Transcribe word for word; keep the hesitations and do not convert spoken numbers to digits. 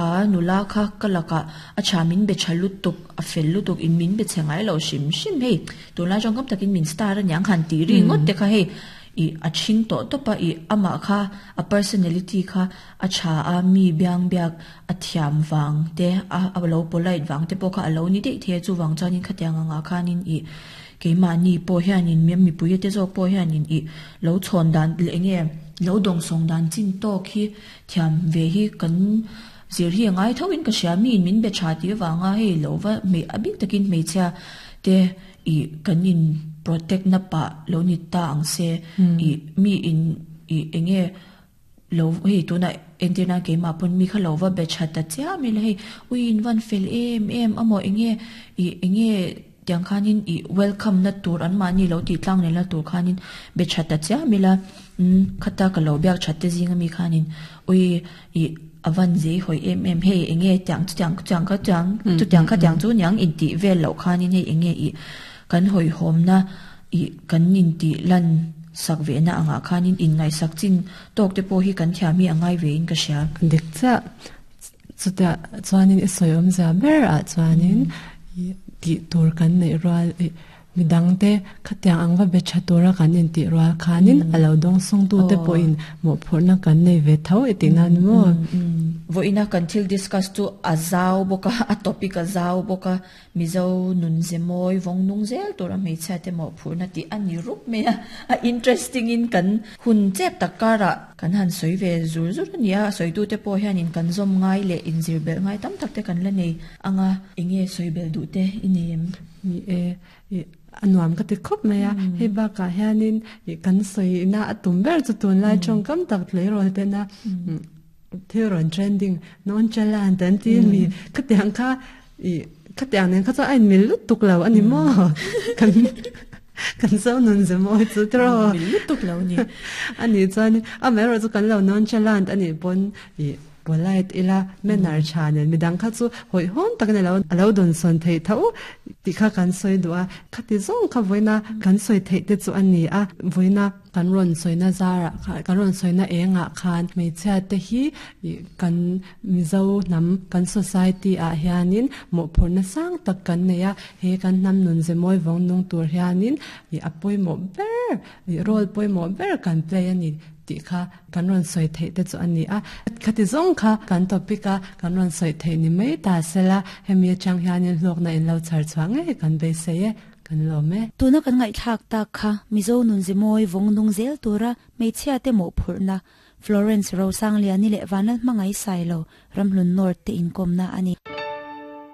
Kha nula kha ka lakah a tha min be tha lutuk a fel lutuk in min be che ngai lo hrim hrim hei tunlai tawngkam takin min star aniang han tih ri ngawt te kha hei ih a thing tawh tawp a ih amah kha a personality kha a tha a mi biang biak a thiam vang te a a lo polite vang te pawh kha a lo ni daih thei a chuvang chuanin khatiang angah khanin ih keimahni pawh hianin mi mipui te zawk pawh hianin ih lo chhawn dan leh eng nge lo dawngsawng dan chin tawk hi thiam ve hi kan zir hi a ngai tho in ka hria mi in min be tha tih avanga hei lo va hmei a bik takin hmeichhia te ih kan in protect na pah lo ni ta ang se ih mi in ih eng nge lo hei tuna entirna keimah pawn mi kha lo va be tha ta chiam ila hei ui in van fel em em amaw eng nge ih eng nge tiang khanin ih welcome na tur an mahni lo tih tlang leh na tur khanin be tha ta chiam ila um khata ka lo biak that te zinga mi khanin ui ih avan zei hoi em em hei eng nge tiang chu tiang tiang kha tiang chu tiang kha tiang chu niang in tih vel loh khanin hei eng nge ih kan hoi hawm na ih kan in tih lan sak ve na angah khanin in ngai sak chin tawk te pawh hi kan thiam hi a ngai ve in ka hria. Dik cha chuta chuanin i sawi awm zia ber ah chuanin tih tur kan neih rual midang te khatiang ang va be tha tura kan in tih rual khanin a lo dawng sawng tu te pawhin mawhphurhna kan nei ve tho i tih nan maw. Voina kan thil discuss chu a zau bawk a a topic a zau bawk a Mizo nun ze mawi vawng nung zel tura hmeichhia te mawhphurhna tih a ni rup mai a a interesting in kan hun chep tak karah kan han sawi ve zur zur a ni a a sawitu te pawh hianin kan zawm ngai leh inzir belh ngai tam tak te kan la nei anga eng nge sawi belh duh te i nei em? Ni e ih a nuam ka ti khawp mai a hei bakah hianin ih kan sawina a tum ber chu tunlai tawngkam tak tleirawl tena thil rawn trending nonchalant an ti mi khatiang kha ih khatiang nen kha chuan a inmil lutuk lo a ni maw kan kan zo nun ze mawi chu tiraw mil lutuk lo a ni a nih chuanin amaherawh chu kan lo nonchalant a nih pawn ih polite ila manner tha nen midang kha chu hawihhawm takin a lo a lo dawn sawn theih tho tih kha kan sawi duh a khati zawng kha vawiina kan sawi theih te chu a ni a vawiina kan rawn sawina zarah khan kan rawn sawina engah khan hmeichhia te hi ih kan Mizo hnam kan society ah hianin mawhphurhna sang tak kan nei a he kan hnam nun ze mawi vawng nung tur hianin ih a pawimawh ber ih role pawimawh ber kan play a ni tih kha kan rawn sawi theih te chu a ni a khati zawng kha kan topic a kan rawn sawi theih ni mai ta sela hemi atang hianin hlawkna in lo chhar chhuah ngei kan beisei e kan lawm e. Tuna kan ngaihthlak tak kha Mizo nun ze mawi vawng nung zel tura hmeichhia te mawhphurhna Florence Rosangliani leh Vanlalhmangai Sailo Ramhlun North te inkawmna a ni.